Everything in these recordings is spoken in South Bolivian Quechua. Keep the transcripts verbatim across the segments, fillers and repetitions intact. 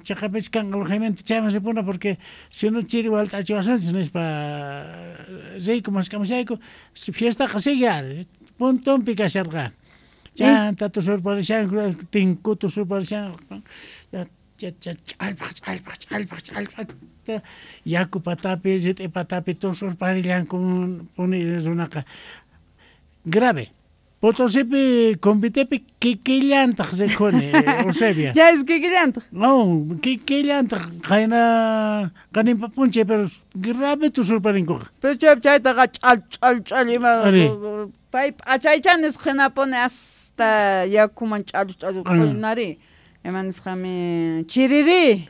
Chaqapich kanqa alojamiento chayman ripuna porque si no chiri walt'achiwasunchis nispa riyku mask'amushayku fiestaqa sigue ari puntonpi kasharqa. Chanta tusurparishanku tinku tusurparishanku ch'allpaq ch'allpaq ch'allpaq ch'allpaq yaku patapi rit'i patapi tusurparillanku puni runaqa grave. Potosipi convitepi kikillantaq rikhuni Eusebia. Chay kikillantaq. No, kikillantaq qayna qaninpa p'unchay pero grave tusurparinkuqa. Pero chay chaytaqa ch'al ch'al ch'al ima pay p'achaycha nisqa hinapuni hasta yakuman ch'allu ch'allu q'uynari. Ima nisqami chiriri.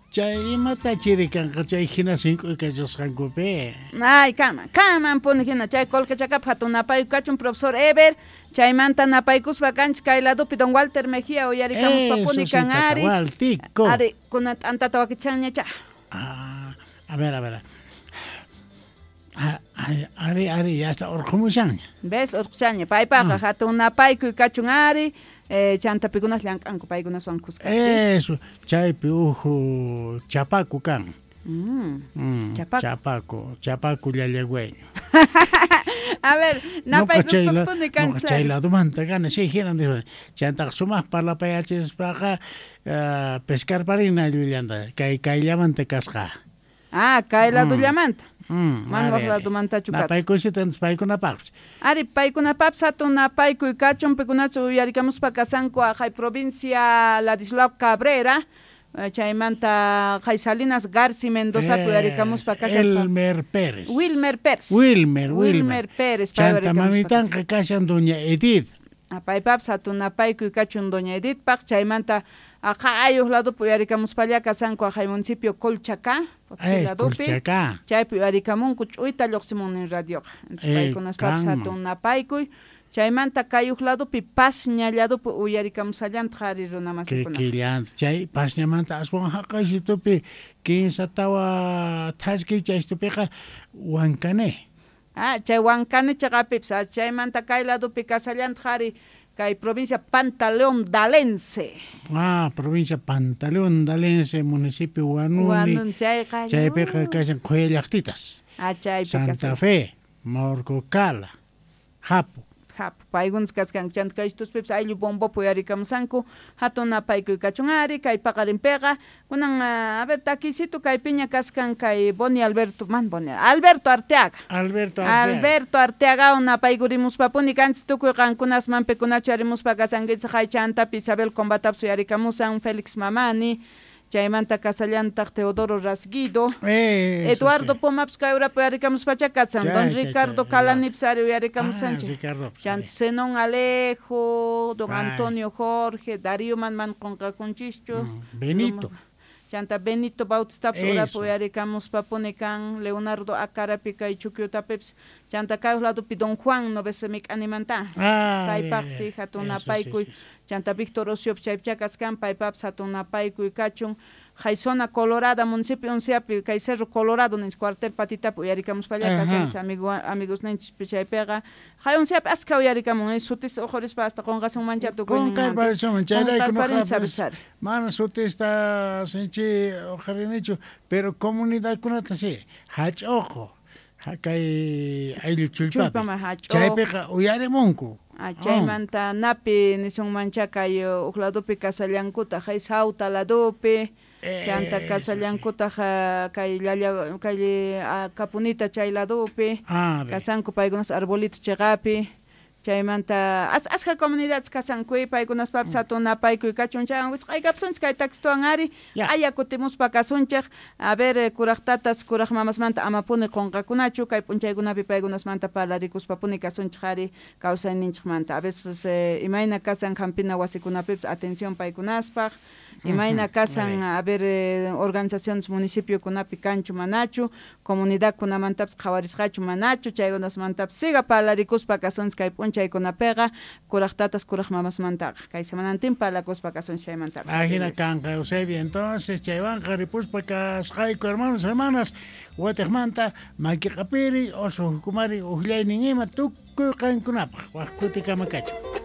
Chay imata chiri kanqa chay hina sink'uy kachasqankupi. Ay, kama, kaman puni hina chay Colquechacap hatun napayku kachun profesor Eber, chaymanta napaykuspa kanchis kay ladupi don Walter Mejía uyarikamuspa puni kan ari. Waltico. Ari, kunan t'antata wakichanña cha. Ah, a ver, a ver. Ari, ari, ya está urqumushanña. ¿Ves? Urqushanña. Paypaqa hatun napaykuy kachun ari. Eh, chanta pikunas llank'anku paykunaswan kuska. Eso, chaypi uhu chapaku kan. Mm. Mm, chapaku. Chapaku, chapaku llallagüeño. A ver, napaykuspapuni kancha. Chay ladumanta kana, sí, hinan nispa. Chantaqa sumaq parlapayachispaqa uh, pescarparina llullanta, kay kayllamanta kasqa. Ah, kay ladullamanta. Mm, Mana waq ladumantachu kasqa. Napaykusita paykunapaqpis. Ari, paykunapaqpis hatun napaykuy kachun, paykunachu uyarikamuspa kasanku haqay provincia Ladislao Cabrera, chaymanta qay Salinas Garci Mendozapi uyarikamuspa kashan. Elmer Pérez. Wilmer Pérez. Wilmer, Wilmer. Wilmer Pérez. Chanta mamitanqa kashan doña Edith. Paypapis hatun napaykuy kachun doña Edithpaq, chaymanta aqayuq ladupi uyarikamuspalla kasanku haqay municipio Colchacá, Potosí ladupi. Colchacá. Chaypi uyarikamunku ch'uyta lluqsimun nin radioqa. Entonces paykunaspapis hatun napaykuy. Chaymanta kayuq ladupi Pasña ladupi uyarikamusallantaq ari runa masikuna. Kikillanta. Chay Pasñamanta aswan haqaysitupi kinsa tawa thaskiy chaystupiqa Huancané. Ah, chay Huancané chaqapipis. Chaymanta kay ladupi kasallantaq ari kay provincia Pantaleón Dalense. Ah, provincia Pantaleón Dalense, municipio Huanuni. Huanun chayqa. Chaypiqa kashan Qhuya llaqtitas. Ah, chaypi Santa Fe, Morcocala, Japo. Japo, paykunas kaskanku chanta kay tuspipis ayllu bombopi uyarikamusanku hatun napaykuy kachun ari kay paqarinpiqa kunan a ver takisito kaypiña kaskan kay Boni Alberto man Boni Alberto Arteaga. Alberto Arteaga. Alberto Arteaga napaykurimospapuni kanchis tukuy qankunasman pikunachu arimuspa kasankichik hay chantapi Isabel Combatapis uyarikamusan Félix Mamani chaymanta kasallantaq Teodoro Rasguido, eh, Eduardo sí. Pomaps kay urapi uyarikamuspacha kasan, chay, don chay, Ricardo chay, Calanipis ari uyarikamusanchik, ah, Ricardo, chanta Zenón Alejo, don ay. Antonio Jorge, Darío man man qunqakunchischu, mm, Benito. Chanta Benito Bautistapis urapi uyarikamuspapuni kan, Leonardo Acarapi kay Chukyutapipis, chanta kay ladupi don Juan no ves mik'animanta, ah, paypaqsi hatun napaykuy, sí, sí, sí. Chanta Víctor Ociop chaypicha kaskan, paypapis hatun napaykuy kachun, Jaizona Colorada, municipio Unciapi, kay Cerro Colorado ninchik cuartel Patitapi uyarikamuspalla kasanchik amigo amigos ninchik chaypiqa, hay Unciapi askha uyarikamun, sutis uqhurispa hasta qunqasunmancha tukuyninmanta. Qunqarparisunman, chayrayku nuqapis mana sutista sinchi uqharinichu, pero comunidadkunata sí, hach'uqu, kay ayllu chullpapi, chaypiqa uyarimunku. Ah, chaymanta napi nisunmancha kay uq ladupi kasallankutaq hay Sauta ladupi, chanta kasallankutaq kay llalla kay Capunita chay ladupi, kasanku paykunas arbolito chiqapi, chaymanta as askha comunidades kasanku paykunaspapis hatun napaykuy kachun chayan wisq'aykapusunchik kay taxistuwan ari aya kutimuspa kasunchik a ver kuraq tatas kuraq mamasmanta amapuni qunqakunachu kay p'unchaykunapi paykunasmanta parlarikuspapuni kasunchik ari kawsayninchikmanta a veces eh, imayna kasan hampina wasikunapipis atención paykunaspaq imayna kasan a ver eh, organizaciones municipiokunapi kanchu manachu comunidadkunamantapis qhawarisqachu manachu chaykunasmantapis siga parlarikuspa kasunchik kay p'unchaykunapiqa kuraq tatas kuraq mamasmantaqa kay semanantin parlakuspa kasunchik chaymantapis. Ajina kanqa Eusebia, entonces chaywanqa ripuspa kasqayku hermanos hermanas watiqmanta makiqapiri oso hukumari uqllaynin ima tukuy qankunapaq waq kutikama kachun.